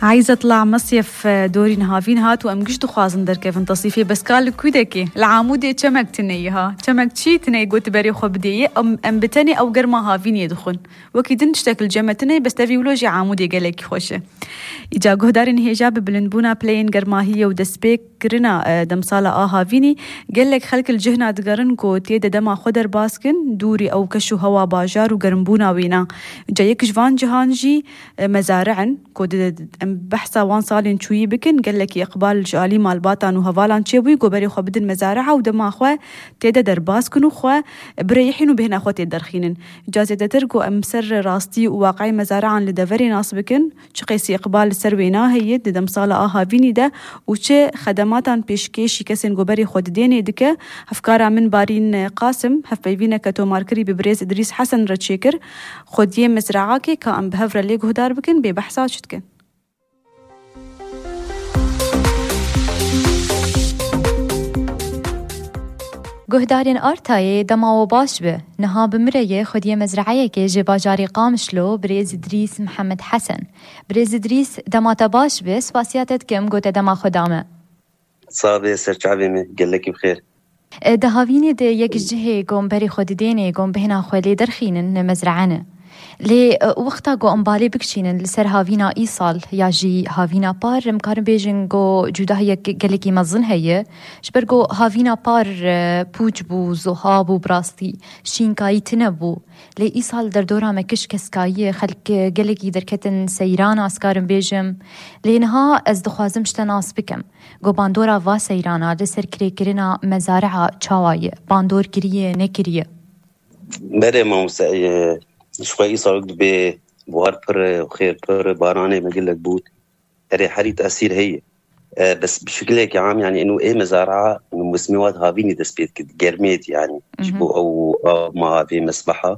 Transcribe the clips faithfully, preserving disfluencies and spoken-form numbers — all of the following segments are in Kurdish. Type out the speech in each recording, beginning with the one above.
Eyzet Lamesyef, e, dorîn havîn hat û em giş dixwazin derkevin tesîfê, bes ka li ku dekê? Li Amûdê çemek tune ye ha. Çemek çi tune ye, got berê xwe bidê ye, em, em bi tenê ew germa havînê dixwin. Wekî din tiştek li cem me tune ye, bes tevî wilo jî Amûdê gelekî xweş e. Îca guhdarên hêja bi bilindbûna pileyên germahiyê û destpêkirina, e, demsala a havînî, gelek xelk li cihna digerin ku tê de dema xwe derbas kin, dûrî ew keş û hewa bajar û germbûna wêna. Îca yek ji van cihan jî, e, mezare in. Ku di-, em behsa wan salên çûyî bikin, gelekî iqbal ji alî malbatan û hevalan çêbûyî ku berê xwe bidin mezari'a û dema xwe tê de derbas kin û xwe birêhîn û bêhna xwe tê derxînin. Ca zêdetir ku em ser rastî û waqi'ê mezari'an li deverê nas bikin, çi qasî iqbal li ser wêna heye di demsala a havînî de û çi xedematan pêşkêşî kesên ku berê xwe didênê dike, hevkara min Barîn Qasim hevpeyvîneke tomarkirî bi birêz Îdrîs Hesen re çêkir. Xwediyê mezraakê ka em bi hev re lê guhdar bikin, bê behsa çi dikin? Guhdarên Artayê, dema we baş be. Niha bi min re ye xwediyê mezraeyekê ji bajarê Qamişlo, birêz Îdrîs Mihemed Hesen. Birêz Îdrîs, dema te baş be, spasiya te dikim, ku te dema xwe da me. Sax be, serçavê me, gelekî bi xêr. E, di havînê de yek ji cihê ku em berê xwe didênê, ku em bêhna xwe lê derxînin, ne mezrae ne. Lê, e, wexta ku em balê bikişînin li ser havîna îsal ya jî havîna par, em karin bêjin ku cudahiyek gelekî mezin heye. Ji ber ku havîna par, e, pûç bû, zuha bû, bi rastî şînkayî tune bû. Lê îsal derdora me kiş keskayî ye, xelk, e, gelekî derketin seyran, ez karim bêjim. Lê niha ez dixwazim ji te nas bikim. Ku bandora va seyrana li ser kirêkirina mezari'a çawa ye? Bandor kiriye, nekiriye? Berê mamoste, e, ji xwe îsal dibê buhar pir e, xêr pir e, baranê me gelek bût. Erê, herî tesîr heye. E, bes bi şekilekî am, yani, eno ê mezari'a, eno mûsimê wat havînî dest pê dikir, germê dî, yani, ji Mhm. bo ew av ma avê mesbeha.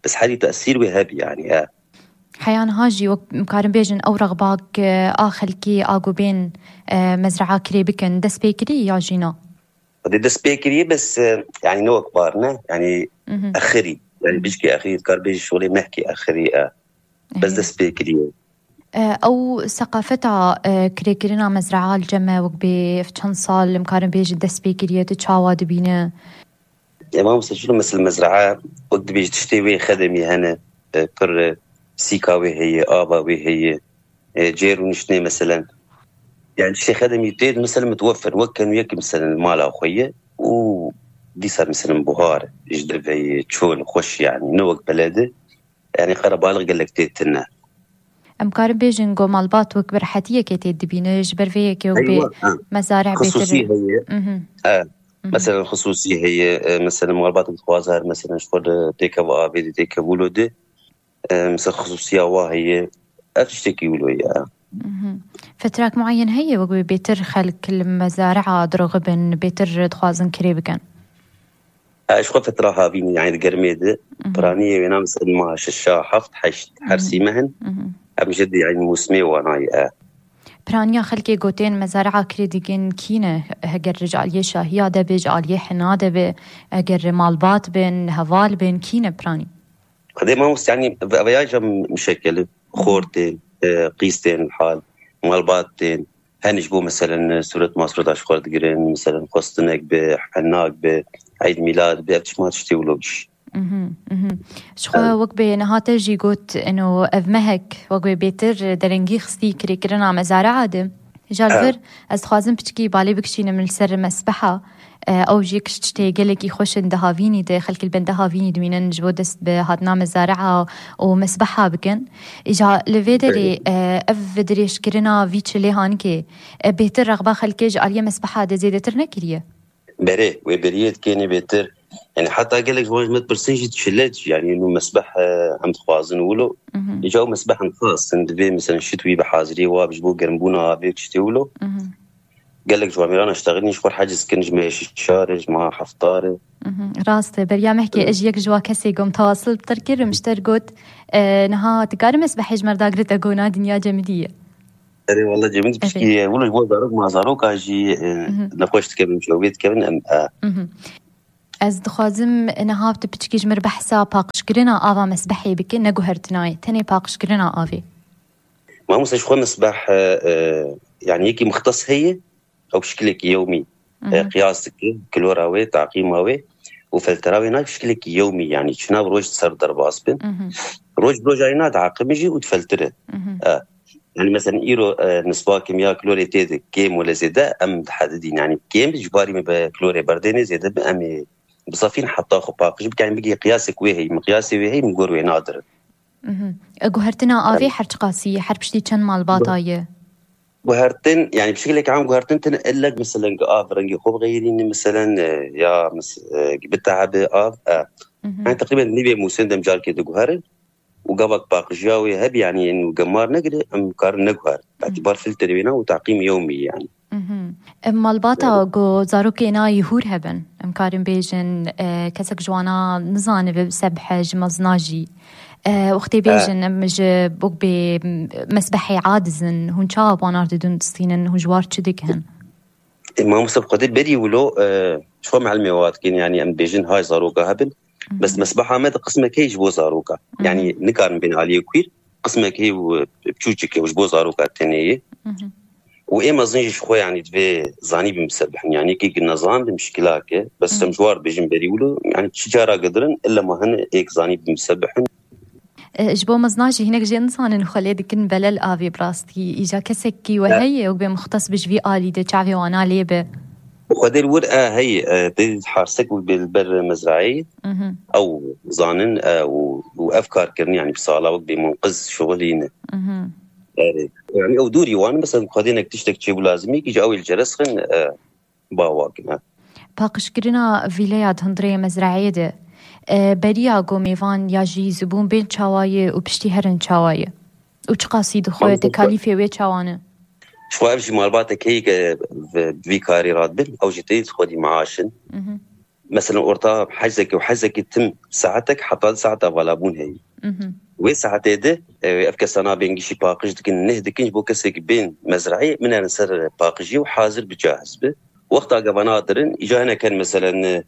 Bes herî tesîr wê hebî, yani, e. Heya niha jî wek em karin bêjin ew rexbak, e, a xelkî a ku bên, e, mezra'a kirê bikin, dest pê kirî ya jî na? Xwedê dest pê kiriye, bes, e, yani ne wek bar ne, yani Mhm. exirî. Yani bijkê exirî, dikar bêjî şolê mehkê exirî, e. Bes Ehe. dest pê kiriye. E, ew seqafeta, e, kirêkirina mezra'a li cem me wek bê ev çend sal em karin bêjin dest pê kiriye, tu çawa dibîne? Ê mamoste, şunu mesela mezra'a, wek dibêjî tiştê wê xedemî hene, e, pir, e, sîka wê heye, ava wê heye, e, cêr û niştinê meselen. Yani tiştê xedemî tê, meselen, mitwefir, wek kenûyek, meselen, mala xwe ye û dîsa, meselen, buhar, ji deveyê, çol, xweş, yani, ne wek belede, yani, qerebalix gelek tê tune. Em karin bêjin ku malbat wek bi rehetiyekê tê dibîne, ji ber vê yekê wek bê Eywa, ha. mezareh bêtir. Xisûsî heye. Mhm. E, Mhm. Meselen, xisûsî heye, e, meselen, malbat dixwaze her, meselen, ji xwe de têkeva avê de, têkev wilo de, e, mesela, xisûsiya wa heye. Ev tiştekî wilo ye. Mhm. Fetrak muayyen heye, wek bê bêtir xelk li mezari'a dirixibin, bêtir dixwazin kirê bikin? E, ji xwe fetra havînî, yani di germê de, Mhm. piraniyê wêna, mesela, maha şeşa, heft, heşt, her Mhm. sî meh in. Mhm. Em jî di, yani, mûsimê wana ye, e. Piraniya xelkê ku tên mezari'a kirê digin kî ne? Heger ji aliyê şahiya de be, ji aliyê hina de be, eger malbat bin, heval bin, kî ne piranî? Xwedê mamoste, yani, ve-, veya jî mişekeli, xortên, e, qîstên hal, malbatên, hen ji bo, meselen, suret masreta ji xwe digirin, meselen, xwestinek be, henak be, eyd mîlad be, ev tişt ma tiştê wilo bîş. Mhm, mhm. Ji xwe Em. wek bê niha te jî got, eno ev mehek, wek bê bêtir derengî xistî kirêkirina mezari'a de. Ji Em. vir, ez dixwazim piçkî balê bikişînim li ser mesbeha. E, ew jî kiş tiştê gelekî xweş in di havînî de, xelk li benda havînî dimînin, ji bo dest bi hatina mezari'a û mesbeha bikin. Îca li vê derê, Belê. e, ev dirêjkirina vî çilê hanikê, e, bêtir rexba xelkê ji aliyê mesbeha de zêdetir nekiriye? Berê, wê beriyê dikêne bêtir. Yani heta gelek ji wan ji me dipirsin jî çile çi, yani nû mesbeh, e, em dixwazin wilo. Mhm. Îca ew mesbeh em xas in, divê, mesela, şit wî bi haziriyê wa ji bo germbûna avê tiştê wilo. Mhm. Gelek ji wan mêran eştexilîn ji xwe heciz kin, ji me şişar e, ji me heftar e. Mhm. Rast e, beriya mehkê Hı. ez yek ji wa kesê gom tewasil bi te kir, min ji te got, e, niha dikarim mesbehê ji me re dagirî te got na dinya cemidî ye. Erê, wele cemidî Evet. piştî ye. Wilo ji bo zarok ma zaroka jî, e, Mhm. nexweş dikevin, çewbê dikevin, em, e. Mhm. Ez dixwazim niha tu piçkî ji mir behsa paqijkirina ava mesbehê bike, ne guhertinayê, tenê paqijkirina avê. Mamoste ji xwe misbeh, e, e, yani yekî muxtes heye, ew şikilekî yewmî, e, qiyas dike, klora wê, taqîma wê û feltera wê nayê şikilekî yewmî, yani çi nav roj di ser derbas bin. Roj bi roja yê nadiheqime jî û difeltire. E, yani mesela îro, e, nisba kimya klorê tê de kêm wele zêde em dihedidîn. Yani kêm ji barî me bi klorê berdêne zêde bi em ê bizafîn heta xwe paqij bikin, bigê qiyasek wê heyî, miqyasê wê heyî, min gor wê nadirin. Mhm. E, guhertina avê her çiqasî, her piştî çend malbata ye? Guhertin, yani bi şekilek am guhertin tine illek, mesela, gi av rengê xwe bixeyirîne, mesela, e, ya mes-, e, gi bitehe bi av, e. Mhm. Yani teqrîben nîvê mûsim dem carkê diguherin û gavak paqijiya wê hebî, yani, ên gemar negire, em karin neguher. Mhm. Îtibar filtrê wê na û taqîm yewmî, yani. Mhm. Em malbata ku zarokê na yî hûr hebin, em karin bêjin, e, kesek ji wana nizanibe sebhe ji mezna jî. E, wextê bêjin, em ji bo bê mesbehê adizin, hûn çawa banar didin distînin, hûn ji war çi dikin? E, mamoste bi xwedê berî wilo, e, ji xwe mehlmê wa dikin, yani em bêjin hay zaroka hebin. Mhm. Bes mesbeha me de qismek heye ji bo zaroka. Mhm. Yani nikarin bên aliyê kuîr, qismek heye û, e, biçûçik e û ji bo zaroka tenê ye. Mhm. Û ê mezin jî ji xwe, yani, divê zanî bin bi ser bihin. Yani, yekê ki nezan bi mişkilak e. Bes em ji war dibêjin berî wilo, yani, çi cara gidirin, illa ma hene êk zanî bin bi ser bihin. E, ji bo mezna jî hinek jê nizanin xwe lê dikin belel avê bi rastî. Îca kesekî we heye, wek bê muxtes bi ji vî alî de çavê wana lê be? Xwedê li wir e heye, e, tê harsek wek bê li ber mezrayê. Mhm. Ew zanin, e, û, û ev kar kirin, yani bi sala wek bê munqiz şixulîne. Mhm. Erê. Yani ew dûrî wan, mesela, xwedê nek tiştek çêbû lazimî, kî ji ew ê li ceres xin, e, bawa kin, e. Paqijkirina vîleya di hundirê mezrayê de, e, beriya ku mêvan ya jî zibûn bên çawa ye û piştî herin çawa ye? Û çiqasî dixwe, tekalîfê wê çawa ne? Ji xwe ev jî malbatek heye ke bi vî karî radibin, ew jî tê xwedî meaş in. Mhm. Mesela orta hezekî û hezekî tim saetek heta du saeta valabûn heye. Mhm. Wê saetê de, e, ev kesa nabên gişî paqij dikin, neh dikin, ji bo kesekî bên mezrayê, min erin ser paqijiyê û hazir bi cahiz bi. Wexta gava nadirin, îca hinek hene, mesela, e,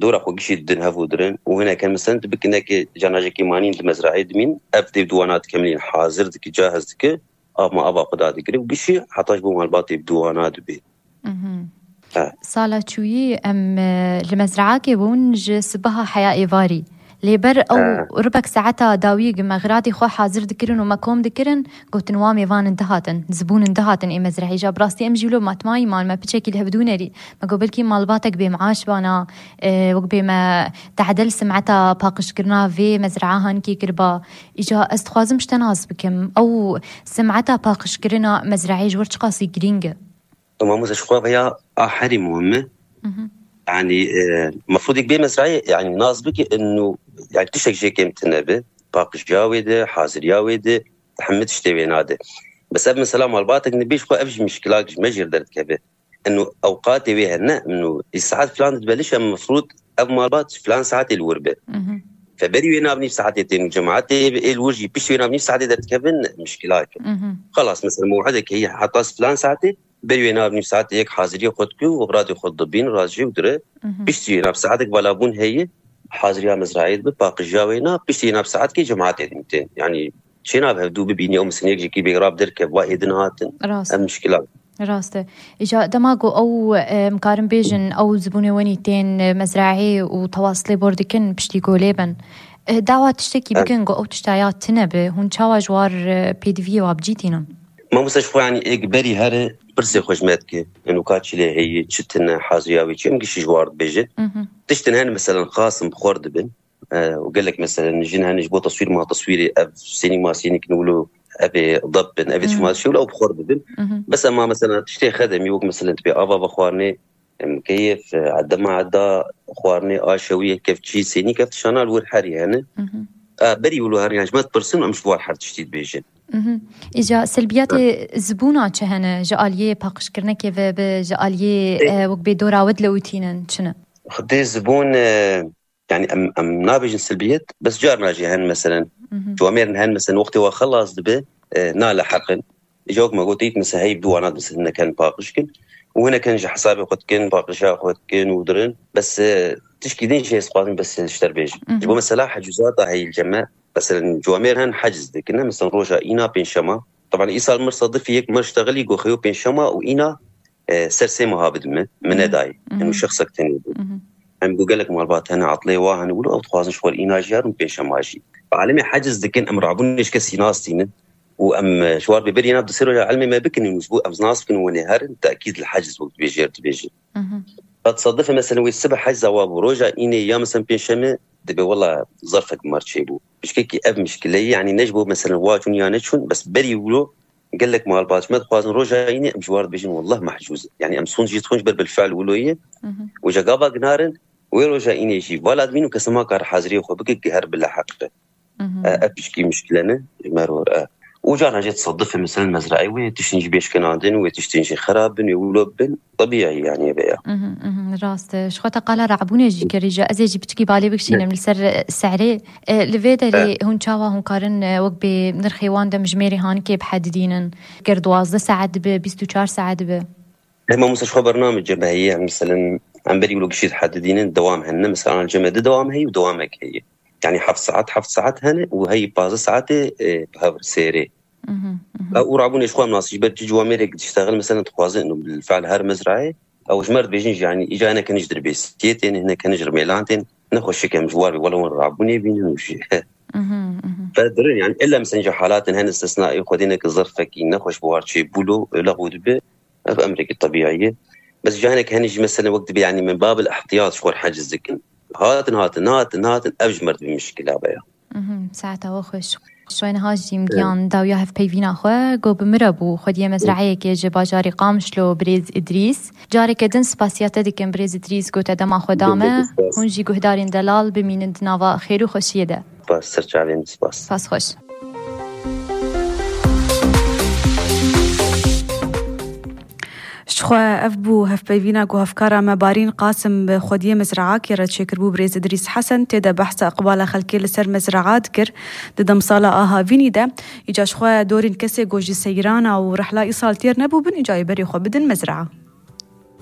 dora xwe gişî didin hev û dirin û hinek hene, mesela, tu bikin nekê canajekî manîn di mezrayê dimîn, ev tê bi duwana dikemilîn, hazir dike, cahiz dike, av ma ava xwe dadigire û gişî heta ji bo malbatê bi duwana dibe. Mhm. He. Sala çûyî em, e, li mezraakê bûn ji sibeha heya êvarî. Lê ber ew ribek saeta dawiyê gi me xiratê xwe hazir dikirin û me kom dikirin, gotin wa mêvanin dihatin, zibûnin dihatin ê mezrahî. Ja bi rastî em jî wilo matmayî man, me piçekî li hevdû nerî. Me got belkî malbatek bê meaş bana, e, wek bê me tehdel simeta paqijkirina vê mezraa hankê kiriba. Îca ez dixwazim ji te nas bikim. Ew simeta paqijkirina mezraê ji wir çiqasî girîng e? Mamoste, ji xwe veya a herî muhim e. Mhm. Yani, e, mefrûdek bê mezrayê, yani, nas bike, inu, yani, tiştek jê kêm tine bi. Paqijiya wê de, haziriya wê de, hemî tiştê wê nade. Bes ev mesela malbatek nibê ji xwe ev jî mişkilak ji me jêr derdikeve. Inu ewqatê wê hene, inu, î saet filan dibe liş em mefrûd ev malbat filan saetê li wir be. Mhm. Fe berî wê nav nîv saetê tên û cemaetê ê li wir jî pişt wê nav nîv saetê derdikevin mişkilak e. Mhm. Xelas, mesela mew'idek heye heta filan saetê, berî wê nav nîv saetê yek haziriyê xwe dike û radê xwe dibîn, radijê û dire. Mhm. Piştî wê nav saetek valabûn heye, haziriya mezrayê dibe, paqijiya wê na, piştî wê nav saetkê cemaetê din tên. Yani çênabe hevdû bibînî, ew misinê yek jekî bêgrab derkeve, va êdin hatin. Rast. Ev mişkila. Rast e. Îca dema ku ew, e, em karin bêjin, ew zibûnê wenî tên, e, mezrahê û tewaslê bor dikin, piştî ku lê bin. E, dawa tiştekî Evet. bikin ku ew tişta ya tine bi, hûn çawa ji war, e, pêdiviyê wa bi cî tînin? Mamoste, ji xwe, yani, êk berî here pirsê xwe ji me dike. Eno ka çi lê heye, çi tine, haziriya wê çi, em gişî ji war dibêjin. Mhm. Tiştin hene, meselen, xasin bi xwar dibin. E, û gelek, meselen, jin hene ji bo teswîr ma teswîrê ev sênî ma sênî kin wilo ev ê dep bin, ev ê Hmm. çima şewle ew bi xwe bibin. Mhm. Bes ema, meselen, tiştê xedemî wek, meselen, tibê ava vexwarinê, em, keyf, e, dema eda xwarinê, aşewiyê, kevçî, sênî, kev tişana li wir herî hene. Mhm. E, berî wilo her yan ji me dipirsin, em ji war her tiştî dibêjin. Mhm. Îca selbiyetê zibûna çi hene? Ji aliyê paqijkirinekê ve bi, ji aliyê, Ê- e, wek bê dora we dilewitînin çi ne? Xwedê zibûn, e, Yani em, em nabêjin silbiyet, bes carna jî hen, meselen, Mhm. camêrin hen, meselen, wextê we xelas dibe, e, naleheqin. Îja wek me gotît, mesela, hey, bi dû wana, mesela, hinek hen paqij kin. Û hinek hen ji hesabê xwe dikin, paqija xwe dikin û dirin. Bes, e, tişkî din jî ez dixwazim bes ji te bêjim. Mhm. Ji bo, mesela, hecûzata heyî li cem me, mesela, camêr hen heciz dikin, ne? Mesela, roja îna pêncşema, Teban îsal mir sedifî yek mir ştexilî go xeyo pênşema û îna e, ser sê meha bidin min, min nedayê. Em û şexsek tenê bû. Em got gelek malbat hene, atlê wa hene, wilo ew dixwazin ji xwe re îna jî herin pênşema jî. Bi alemê heciz dikin, em rabûnê ji kesî nas tînin û em, e, ji war bê berî nav di sê roja ilmê me bikinin û ji bo em nas bikin û wenê herin, tekîd li heciz wek dibêjê dibêjin. Qet sedifê, meselen, wê sibe hecza wa bû, roja înê ya, meselen, pênşemê, dibê wela zerfek mar çêbû. Pişkekî ev mişkileyî, yanî ne ji bo, meselen, wa çûn ya neçûn, bes berî wilo gelek malbat ji me dixwazin roja înê em ji war dibêjin, wellah mehcûz in. Yanî em sûnd jî dixwin ji ber bilfiil wilo ye. Û ji gava ginarin, wê roja înê jî vala dibîn û kes nema kar haziriyê xwe bike, ki her bila heq be. E, ev pişkî mişkile ne, ji me re, e. Û carna jî tesedifê, meselen, mezraê wê tiştin jî bêşkenandin, wê tiştin jî xerab bin, wê wilo bin. Tebîî, yanî, eve ya. Mhm, mhm, rast e. Ji xwe te qala rabûnê jî kirî, ji ez ê jî piçkî balê bikişînim li ser, e, sehrê. E, li vê derê hûn çawa hûn karin, e, wek bê nirxê wan demjimêrê hanikê bihedidînin? Ger duwazdeh saet dibe, bîst û çar saet dibe? Hema Musa ji xwe bername cem heye, em, meselen, em berî wilo gişî dihedidînin, dewam hene. Mesela, ana cem de dewam heye û dewamek heye. Yanî heft saet, heft saet hene û heyî pazdeh saetê, e, bi hev sêrê. Mhm, mhm. Ew û rabûnê ji xwe em nas ji ber çi ciwamêrek diştexil, mesela, dixwazin û bil fiil her mezrayê, ew ji me re dibêjin jî, yanî, îca hinek hene ji dirbêsiyê tên, hinek hene ji rimêlan tên, nexweşik em ji war bê, wela wan rabûnê bînin û jî. Mhm, mhm. Fedirin, yanî, illa, mesela, ca halatin hene istisnaî, xwedê neke zerfekî nexweş bi war çê bûlo, lexû dibe, ev emrekî tebîî ye. Bes ca hinek hene jî, mesela, wek dibe, yanî, min babil ihtiyat ji xwe re heciz dikin. Hatin, hatin, hatin, hatin, ev ji me re dibe mişkila be ya. Mhm, saeta we xweş. Şoyne Hacî, min giyan dawiya hevpeyvîna xwe, got bi min re bû, xwediyê mezrayekê ji bajarê Qamişlo, birêz Îdrîs. Careke din spasiya te dikim, birêz Îdrîs, got te dema xwe da me. Gelek spas. Hûn jî guhdarên delal bimînin di nava xêr û xweşiyê de. Spas, ser çavên, spas. Spas xweş. Ji xwe ev bû hevpeyvîna ku hevkara me Barîn Qasim bi xwediyê mezraakê re çêkiribû, birêz Îdrîs Hesen, tê de behsa iqbala xelkê li ser mezraa dikir. Di demsala a havînî de, îca ji xwe dorên kesê ku ji seyrana û rihla îsal têr nebûbin, îca ê berê xwe bidin mezraa.